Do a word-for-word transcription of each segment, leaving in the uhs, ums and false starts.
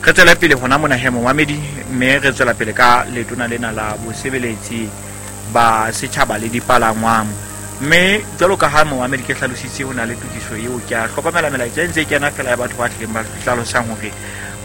Re tswela pele hona mona he momamedi, mme re tswela pele ka letona lena la bosebeletsi ba setjhaba le dipalangwang. Mme jwalo ka ha momamedi ke hlalositse ho na le tokiso eo, ke a hlokomela melaetsa e ntse e kena fela ya batho ba tlileng ba hlalosang hore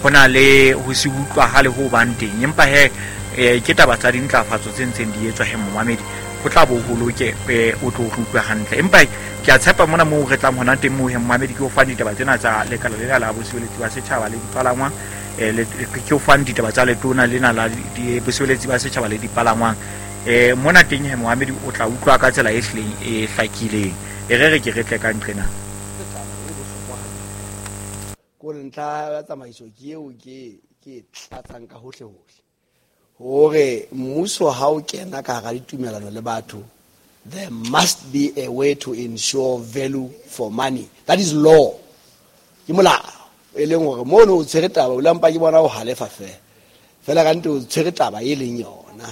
ho na le ho se utlwahale ho bang teng. Empa he eh, ke taba tsa dintlafatso tse ntseng di etswa he momamedi, ho tla bo ho loke, eh, o tlo re utlwe hantle. Empa ke a tshepa mona moo re tlang hona teng moo he momamedi, ke o fang ditaba tsena tsa lekala lena la bosebeletsi ba setjhaba le dipalangwang, eh, le, ke o fang ditaba tsa letona lena la di-, bosebeletsi ba setjhaba le dipalangwang. Eh, mona teng he momamedi o tla utlwa ka tsela e hlileng e hlakileng. E re re ke re tle ka nqena. Kore ntlha ya tsamaiso ke eo ke, ke e tlatsang ka hohle hohle. Hore mmuso ha o kena ka hara ditumelano le batho, there must be a way to ensure value for money. That is law. Ke molao. E leng hore mono o tshwere taba, o la mpa ke bona o halefa fela. Fela ka nnete o tshwere taba e leng yona.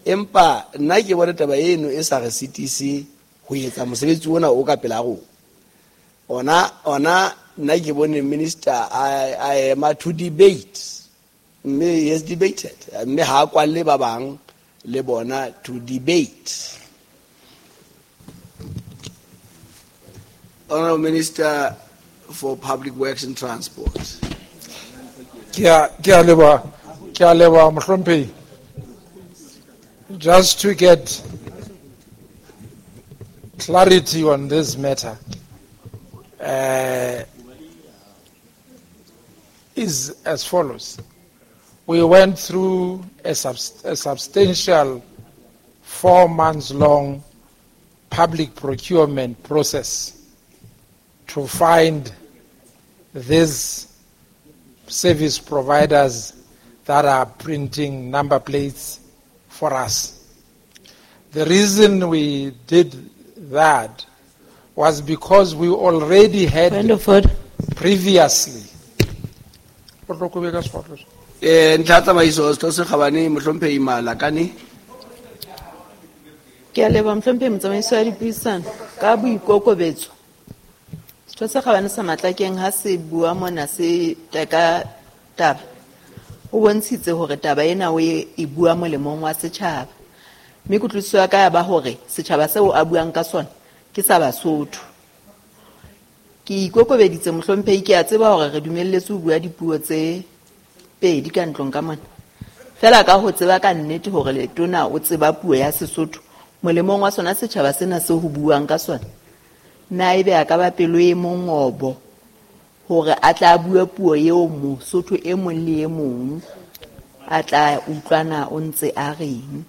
Empa nna ke bone taba eno e sa re sitise ho etsa mosebetsi ona o ka pela rona. Ona, ona nna ke bone minister a, a ema to debate. Mme he has debated. Mme ha a kwalle ba bang le bona to debate. Honorable Minister for Public Works and Transport. Ke a, ke a leboha, ke a leboha, mohlomphehi. Just to get clarity on this matter, uh, is as follows. We went through a, subst-, a substantial four months long public procurement process to find these service providers that are printing number plates for us. The reason we did that was because we already had Point of order. previously. Eh, ntlha tsamaiso, Setho se Kgabane, Mohlomphehi Malakane. Ke a leboha, Mohlomphehi Motsamaisi wa Dipuisano, ka boikokobetso. Setho se Kgabane sa Matlakeng ha se bua mona se teka taba, o bontshitse hore taba ena o e, e bua molemong wa setjhaba. Mme kutlwisiso ya ka ya ba hore setjhaba seo a buang ka sona ke sa Basotho. Ke ikokobeditse, Mohlomphehi, ke a tseba hore re dumelletswe ho bua dipuo tse pedi ka ntlong ka mona. Fela ka ho tseba ka nnete hore letona o tseba puo ya Sesotho molemong wa sona setjhaba sena seo ho buang ka sona, na ebe a ka ba pelo e mongobo hore a tla bua puo eo Mosotho e mong le e mong a tla utlwana o ntse a reng?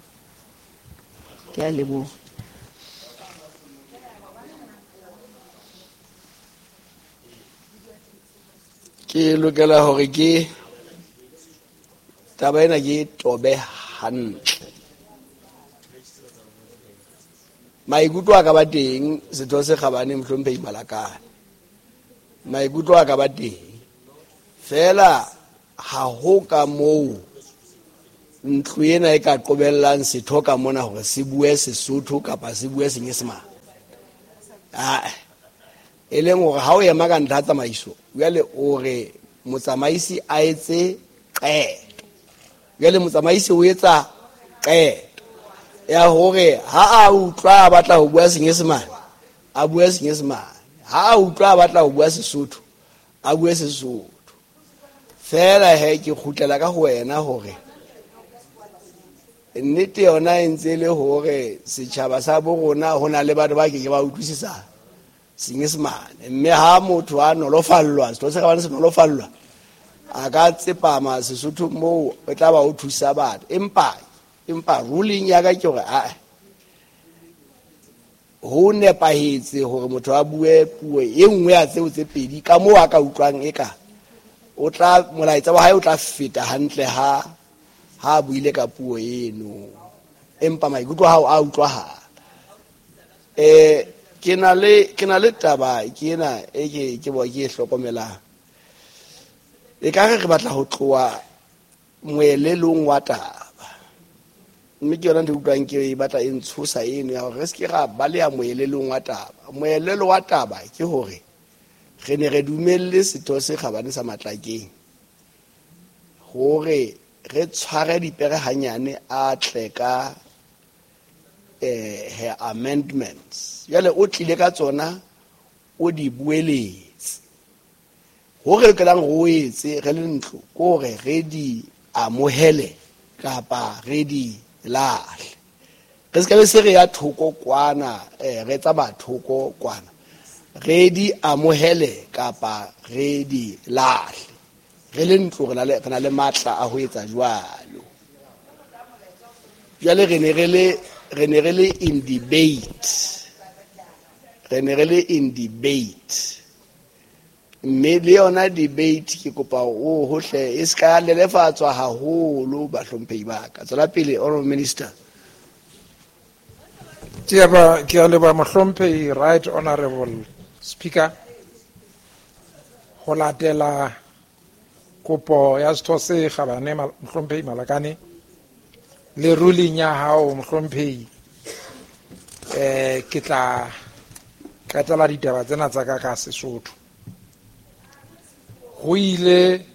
Ke a leboha. Ke lokela hore ke taba ena ke tobe hantle. Maikutlo a ka ba teng, Setho se Kgabane, Mohlomphehi Malakane. Maikutlo a ka ba teng. Fela ha ho ka moo ntlo ena e ka qobellang setho ka mona hore se bue Sesotho kapa se bue Senyesemane. Ah, e leng hore ha o ema ka ntlha tsamaiso, jwale o re motsamaisi a etse qeto. Jwale motsamaisi o etsa qeto ya hore ha a utlwa a batla ho bua Senyesemane, a bue Senyesemane. Ha a utlwa a batla ho bua Sesotho, a bue Sesotho. Fela he ke kgutlela ka ho wena hore nnete yona e ntse e le hore setjhaba sa bo rona ho na le batho ba ke ke ba utlwisisa Senyesemane. Mme ha motho a nolofallwa, setho se Kgabane se nolofallwa, a ka tsepama Sesotho moo e tla ba o thusa batho. Empa, empa ruling ya ka ke hore, ah, ho nepahetse hore motho a bue puo e nngwe ya tseo tse pedi ka moo a ka utlwang eka o tla, molaetsa wa hae o tla feta hantle ha, ha a buile ka puo eno. Empa maikutlo a hao a utlwahala. Eh, ke na le, ke na le taba ke ena e ke, ke bo ke e hlokomelang. E ka re re batla ho tloha moelelong wa taba. Mme ke yona ntho e utlwang ke e batla e ntshosa eno ya hore re se ke ra baleha moelelong wa taba. Moelelo wa taba ke hore re ne re dumelle setho se Kgabane sa Matlakeng Hore re tshware dipere hanyane a tle ka eh her amendments. Jwale o tlile ka tsona o di bueletse. Hore re lokelang ho etse re le ntlo ke hore re di amohele kapa re di lahle. Re se ka be se re ya thoko kwana, eh re tsamaya thoko kwana. Re di amohele kapa re di lahle. Re le ntlo re na le re na le matla a ho etsa jwalo. Jwale re ne re le re ne re le in debate. Re ne re le in debate. Mme le yona debate ke kopa o hohle e ska lelefatswa haholo bahlomphehi ba ka. Tswela pele Honorable Minister. Ke a ba ke a leboha mohlomphehi Right Honorable Speaker. Ho latela kopo ya setho se kgabane mohlomphehi Malakane le ruling ya hao mohlomphehi, eh ke tla qetela ditaba tsena tsa ka ka Sesotho. Ho ile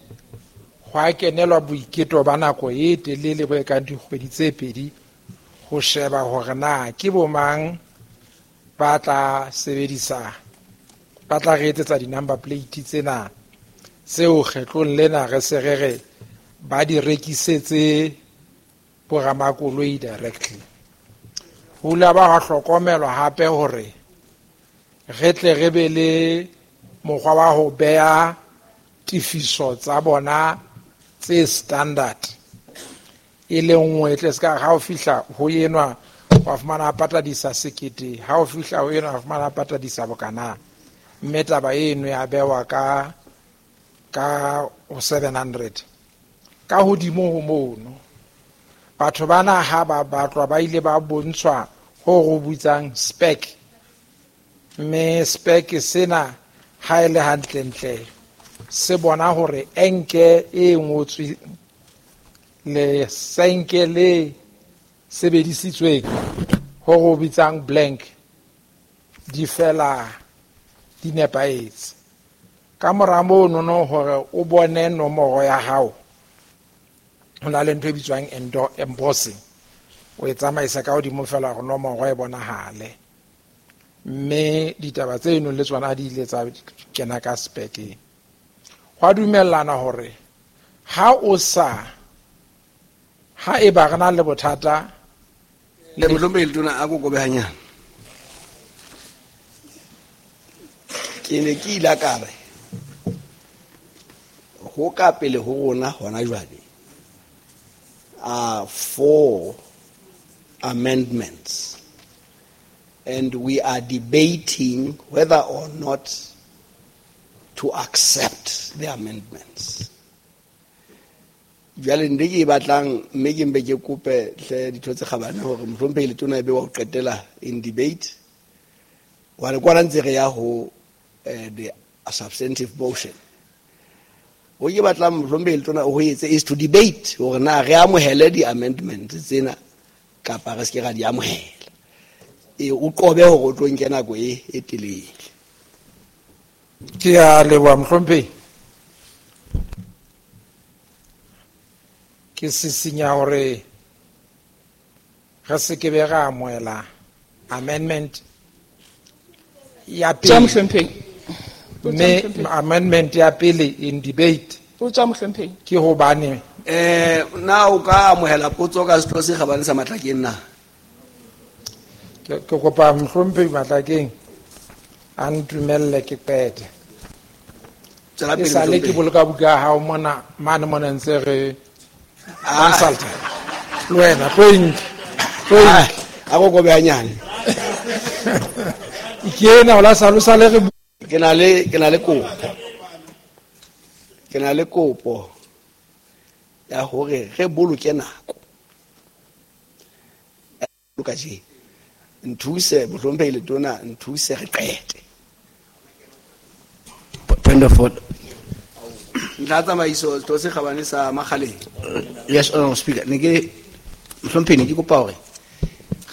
hwa kenelwa boiketo ba nako e telele bo ekang dikgwedi tse pedi ho sheba hore na ke bo mang ba tla sebedisa ba tla re etsetsa di-number plate tsena tseo kgetlong lena re se re re ba di rekisetse boramakoloi directly. Ho ile ba hwa hlokomelwa hape hore re tle re be le mokgwa wa ho beha tifiso tsa bona tse standard e le nngwe tle ska ha o fihla ho enwa wa fumana patadisa sekete, ha o fihla ho enwa wa fumana patadisa bokana, mme taba eno ya bewa ka ka seven hundred. Ka hodimo ho mono batho bana ha ba batlwa ba ile ba bontshwa ho go bitsang spec, mme spec sena ha e le hantlentle se bona hore enke e ngotswe le senke le sebedisitsweng ho go bitsang blank di fela di nepahetse. Ka mora mono no hore o bone nomoro ya hao ho na le ntho e bitswang embossing, o e tsamaisa ka hodimo fela hore nomoro e bonahale, mme ditaba tseno le tsona di ile tsa kena ka spec-eng. Hwa dumellana hore ha o sa ha e ba re na le bothata le mohlomphehi Letona a kokobe hanyane. Ke ne ke ile ka re ho ka pele ho rona hona jwale are four amendments and we are debating whether or not to accept the amendments. Jwale nde ke batlang mme ke mbe ke kope hle ditho tse kgabane hore mohlomphehi Letona e be wa ho qetela in debate. Wa re kwana ntse re ya ho the substantive motion. Ho ke batlang mohlomphehi Letona ho etse is to debate hore na re amohele di amendments tsena kapa re se ke ra di amohela. E o qobe hore o tlo nke nako e e telele. Ke a leboha mohlomphehi. Ke sisinya hore re se ke be ra amohela amendment ya pele. Mme amendment ya pele in debate ke hobane eh na o ka amohela potso ka setho se kgabane sa Matlakeng na? Ke kopa mohlomphehi Matlakeng a ntumelle ke qete. E sale ke boloka buka ya hao mona mane mona ntse re consult le wena tlo e nke, tlo e nke. A ko kobe hanyane. Ke ena o la sa lo sale re ke na le ke na le kopo. Ke na le kopo ya hore re boloke nako. Boloka je. Nthuse mohlomphehi Letona, nthuse re qete. Point of order. Ntlha tsamaiso setho se kgabane sa Makgaleng. Yes, Honorable Speaker. Ne ke mohlomphehi ne ke kopa hore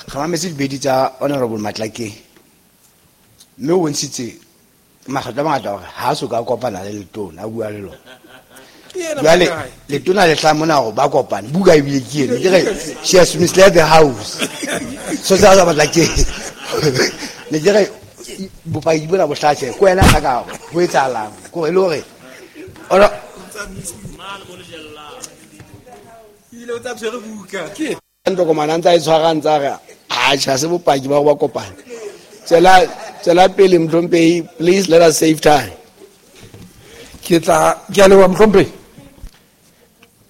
re mametse dibedi tsa Honorable Matlakeng. Mme o bontshitse makgetlo a mangata hore ha so ka kopana le Letona a bua le lona. Jwale letona le tla mona hore ba kopane buka ebile ke eno ke re she has misled the house so tsa ba batla ke ne ke re bopaki bona bo hlatshe ko wena ga ka ho etsahalang ko e le hore ora ile o tsa tshwere buka ke ntokomana ntsa e tshwarang tsa re a tjha se bopaki ba go ba kopane tsela tsela pele Mhlompehi, please let us save time. Ke tla ke a leboha Mhlompehi.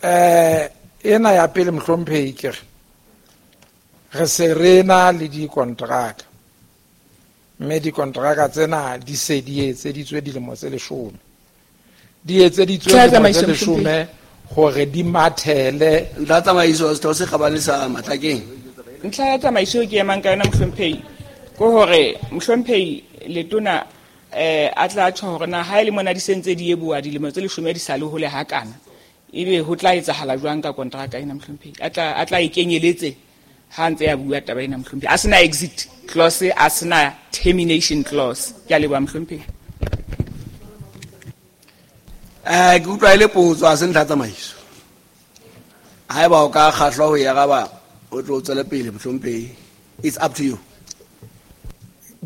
Eh ena ya pele Mhlompehi ke re re se re na le dikontraka mme dikontraka tsena di se di etseditswe dilemo tse leshome di etseditswe dilemo tse leshome hore di mathele. Ntlha tsamaiso setho se kgabane sa Matlakeng. Ntlha ya tsamaiso ke emang ka yona Mhlompehi ke hore Mhlompehi letona eh a tla tjho hore na ha ile mona di sentse di eboa dilemo tse leshome di sa le hole hakana ebe ho tla etsahala jwang ka kontraka ena Mhlompehi a tla a tla ikenyeletse ha ntse ya bua taba ena Mhlompehi a sena exit clause a sena termination clause. Ke a leboha Mhlompehi. Eh ke utlwa ile potso a se ntlha tsamaiso haeba o ka kgahlwa ho ya gaba o tlo tswela pele Mhlompehi, it's up to you.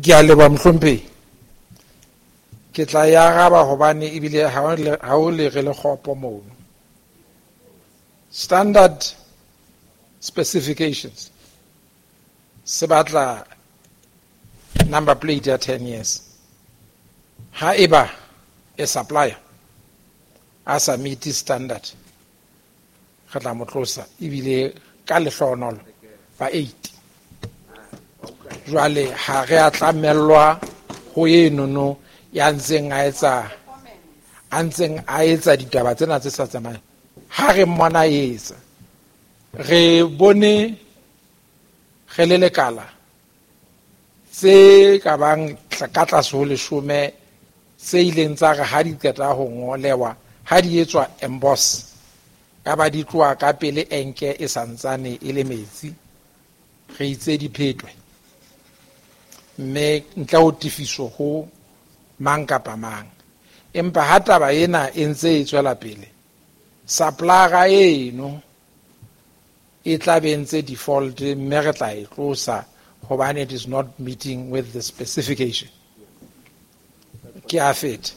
Ke a leboha Mhlompehi. Ke tla ya araba hobane ebile ha o le re le kgopo mono. Standard specifications se batla number plate ya ten years. Ha eba e supplier a sa meet standard re tla mo tlosa ebile ka lehlohonolo ba eight. Jwale ha re a tlamellwa ho enono ya ntseng a etsa a ntseng a etsa ditaba tsena tse sa tsamayeng. Ha re mmona etsa re bone re le lekala tse ka bang ka tlase ho leshome tse ileng tsa re ha di qeta ho ngolewa ha di etswa emboss ka ba di tloha ka pele enke e santsane e le metsi re itse di phetwe mme ntle ho tefiso ho mang kapa mang. Empa ha taba ena e ntse e tswela pele supplier eno e tla be ntse default mme re tla e tlosa hobane it is not meeting with the specification. Ke a feta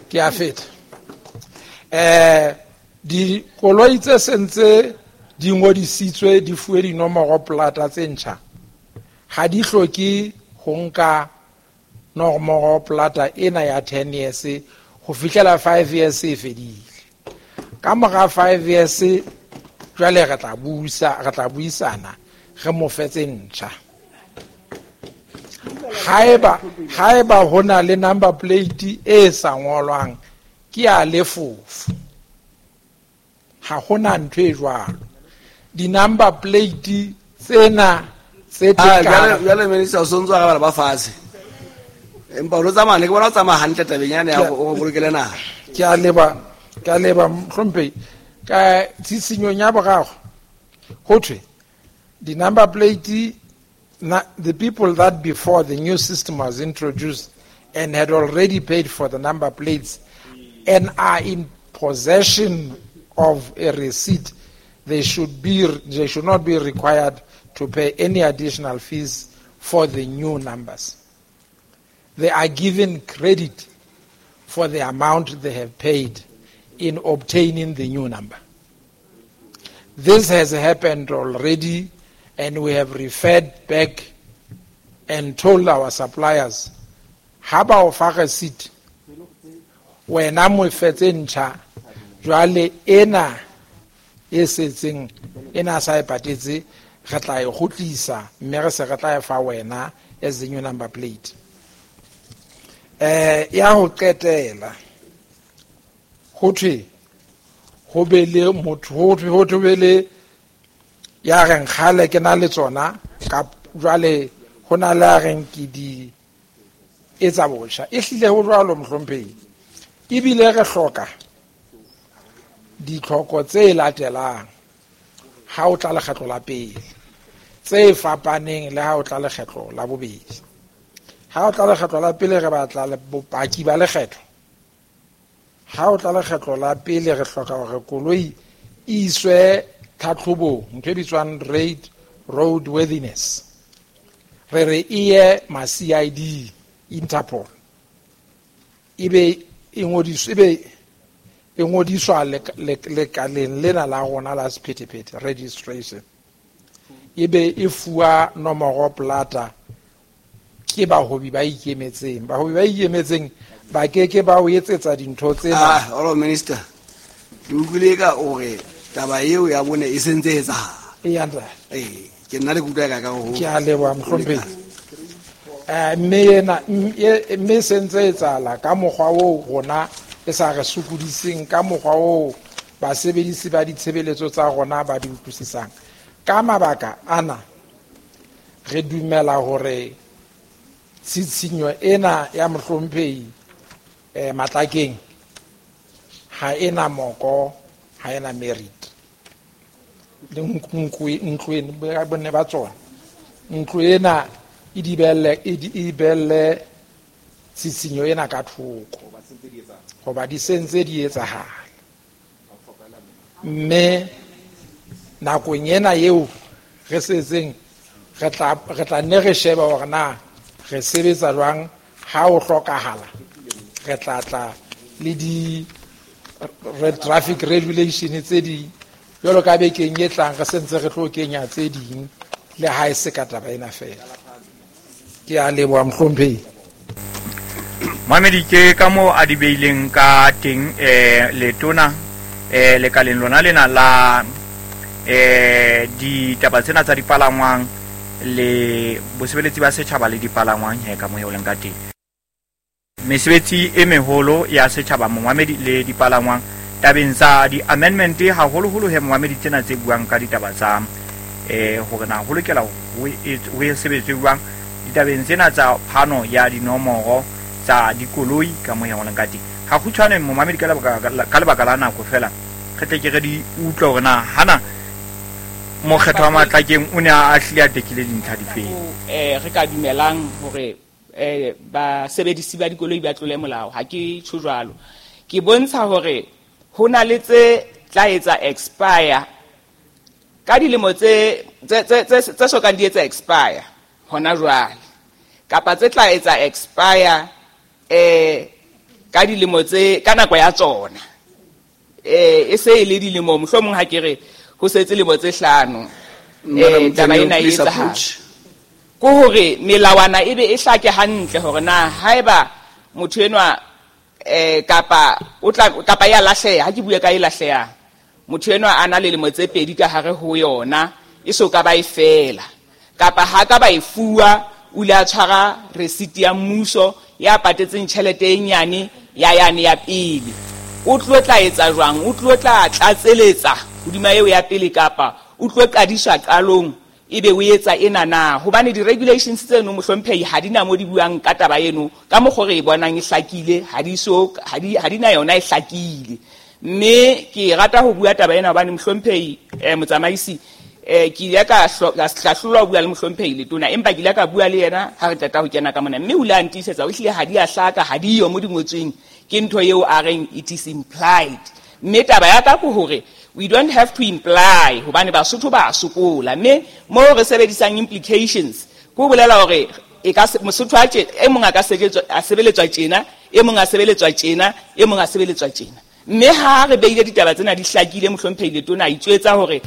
ke a feta eh dikoloi tse sentse di ngodisitswe di fuwe dinomoro plata tse ntjha ha di hloke ho nka nomoro plata ena ya ten years ho fihlela five years e fedile. Ka mora five years jwale re tla buisa re tla buisana re mo fetse ntjha. Haeba haeba hona le number plate e sa ngolwang ke ya lefofu ha hona ntho e jwalo. Di number plate tsena tse tekana jwale minister o sontso a ba ba fatshe empa o tsamaya ke bona o tsamaya hantle tabeng yana ya o bolokele naha. Ke a leba ke a leba Mhlompehi. Ka tshitsinyong ya boraro ho thwe di number plate na, the people that before the new system was introduced and had already paid for the number plates and are in possession of a receipt, they should be they should not be required to pay any additional fees for the new numbers. They are given credit for the amount they have paid in obtaining the new number. This has happened already, and we have referred back and told our suppliers, ha ba o fa receipt, wena mo fetse ntjha, jwale ena e setseng ena sa e patetse re tla e kgutlisa mme re se re tla e fa wena as the new number plate. Eh ya ho qetela ho thwe ho be le motho ho thwe ho thwe le ya reng kgale ke na le tsona ka jwale ho na le a reng ke di etsa botjha e hlile ho jwalo Mhlompehi ebile re hloka ditlhoko tse latelang ha o tla lekgetlo la pele tse fapaneng le ha o tla lekgetlo la bobedi. Ha o tla lekgetlo la pele re batla bopaki ba lekgetho Ha o tla lekgetlo la pele re hloka hore koloi e iswe tlhatlhobong, ntho e bitswang rate road worthiness. Re re e ye ma C I D Interpol. Ebe e ngodiswe, ebe e ngodiswa lekaleng lena la rona la sephethephethe registration. Ebe e fuwa nomoro plata ke bahobi ba ikemetseng. Bahobi ba ikemetseng ba keke ba o etsetsa dintho tsena. Ah, honorable minister, ke utlwile ka hore taba eo ya bone e sentse e etsahala. E ntate. Eh, ke nna le kutlwa ka ka ho. Ke a leboha mohlomphehi. Eh, mme ena mme sentse etsahala ka mokgwa oo rona e sa re sokodiseng, ka mokgwa oo basebedisi ba ditshebeletso tsa rona ba di utlwisisang. Ka mabaka ana re dumela hore tshitshinyo ena ya mohlomphehi eh Matlakeng ha ena moko, ha ena merit. Le ntlo ntlo bonne ba tsona. Ntlo ena e dibelle e dibelle tshitshinyo ena ka thoko. Hoba di sentse di etsahala. Mme nakong ena eo re setseng re tla re tla nne re sheba hore na re sebetsa jwang ha o hlokahala. Re tla tla le di traffic regulation tse ding jwalo ka bekeng e tlang re sentse re tlo kenya tse ding le ha e se ka taba ena fela. Ke a leboha mohlomphehi. Mamedi ke ka moo a di beileng ka teng eh letona eh lekaleng lona lena la eh ditaba tsena tsa dipalangwang le bosebeletsi ba setjhaba le dipalangwang he ka moo ho leng ka teng. Mesebetsi e meholo ya setjhaba momamedi le dipalangwang tabeng tsa di-amendment haholoholo he momamedi tsena tse buang ka ditaba tsa eh hore na ho lokela ho e sebetswe jwang ditabeng tsena tsa phano ya dinomoro tsa dikoloi ka moo ho leng ka teng. Ha kgutshwane momamedi ka lebaka ka lebaka la nako fela re tle ke re di utlwe hore na hana mokgetho wa Matlakeng o ne a hlile a tekile dintlha difeng. Eh re ka dumelang hore eh basebedisi ba dikoloi ba tlole molao, ha ke tjho jwalo. Ke bontsha hore ho na le tse tla etsa expire ka dilemo tse tse tse tse sokang di etsa expire hona jwale, kapa tse tla etsa expire eh ka dilemo tse ka nako ya tsona. Eh e se e le dilemo mohlomong ha ke re ho setse lemo tse hlano eh taba ena e etsahala. Ke hore melawana ebe e hlake hantle hore na haeba motho enwa eh kapa o tla kapa ya lahleha, ha ke bue ka e lahleha, motho enwa a na le lemo tse pedi ka hare ho yona e so ka ba e fela, kapa ha ka ba e fuwa o ile a tshwara receipt ya mmuso ya patetseng tjhelete e nyane ya yane ya pele, o tlo tla etsa jwang? O tlo tla tlatseletsa hodima eo ya pele kapa o tlo qadiswa qalong ebe o etsa ena na? Hobane di-regulations tseno mohlomphehi ha di na mo di buang ka taba eno ka mokgwa re e bonang e hlakile, ha di so ha di ha di na yona e hlakile. Mme ke rata ho bua taba ena hobane mohlomphehi eh motsamaisi eh ke ile ka hlahlolwa ho bua le mohlomphehi letona, empa ke ile ka bua le yena ha re qeta ho kena ka mona, mme o ile a ntiisetsa o hlile ha di a hlaka, ha di yo mo di ngotsweng, ke ntho eo a reng it is implied. Mme taba ya ka ke hore we don't have to imply hobane Basotho ba sokola, mme mo re sebedisang implications ko bolela hore e ka Mosotho a tje e mong a ka sebeletswa a sebeletswa tjena, e mong a sebeletswa tjena, e mong a sebeletswa tjena. Mme ha re beile ditaba tsena di hlakile mohlomphehi letona a itswetsa hore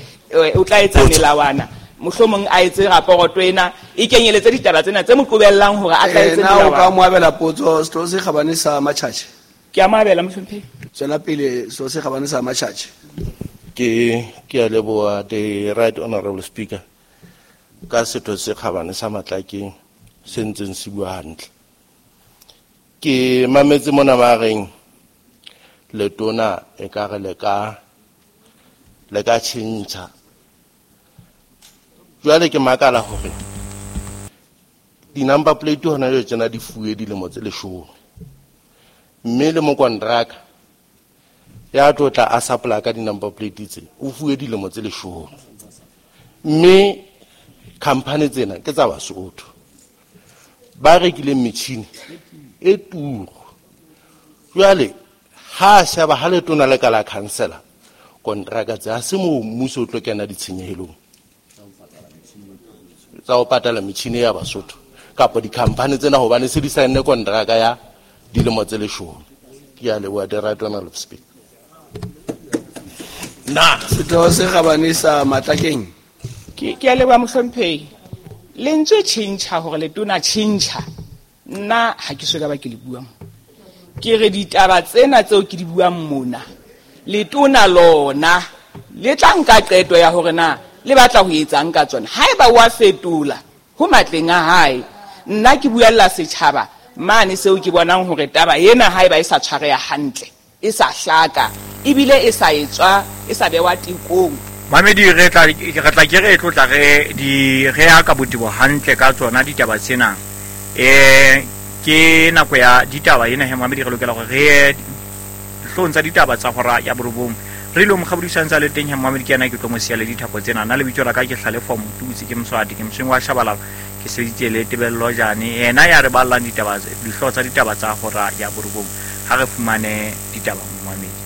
o tla etsa melawana, mohlomong a etse raporoto ena e kenyeletse ditaba tsena tse mo qobellang hore a tla etse melawana. Na o melawana. ka mo abela potso setho se kgabane sa Matjhatjhe? Ke a mo abela mohlomphehi. Tswela pele setho se kgabane sa Matjhatjhe. Ke ke a leboha the right honorable speaker ka setho se kgabane sa Matlakeng se ntseng se bua hantle. Ke mametse mona ba reng letona e ka re le ka le ka tjhentjha. Jwale ke makala hore di-number plate hona jwale tsena di fuwe dilemo tse leshome, mme le mokontraka ya tlo tla a supply ka di-number plate tse o fuwe dilemo tse leshome, mme company tsena ke tsa Basotho ba rekileng metjhini e turu. Jwale Ha sheba ha letona le ka la cancela kontraka tse ha se mo mmuso o tlo kena ditshenyehelong tsa ho patala metjhini ya Basotho kapa di-company tsena hobane se di saenne kontraka ya dilemo tse leshome. Ke a leboha, the right honorable speaker. Na setho se kgabane sa Matlakeng. Ke ke a leboha mohlomphehi. Lentswe tjhentjha hore letona tjhentjha nna ha ke so ka ba ke le buang. Ke re ditaba tsena tseo ke di buang mona letona lona le tla nka qeto ya hore na le batla ho etsang ka tsona. Haeba wa fetola ho matleng a hae, nna ke buella setjhaba mane seo ke bonang hore taba ena haeba e sa tshwareha hantle, e sa hlaka, ebile e sa etswa, e sa bewa tekong. Mamedi re tla re tla ke re tlotla re di re ya ka botebo hantle ka tsona ditaba tsena. Eh ke nako ya ditaba ena he mamedi re lokela hore re dihlong tsa ditaba tsa hora ya borobong. Re lo mokgabodisang tsa le teng he mamedi ke yena ke tlo mo siya le dithapo tsena. Nna lebitso la ka ke Hlalefo Motutsi, ke Moswati, ke Mosweng wa Shabalala, ke sebeditse le Tebello Jane, yena ya re ballang ditaba dihlooho tsa ditaba tsa hora ya borobong. Ha re fumane ditaba mamedi.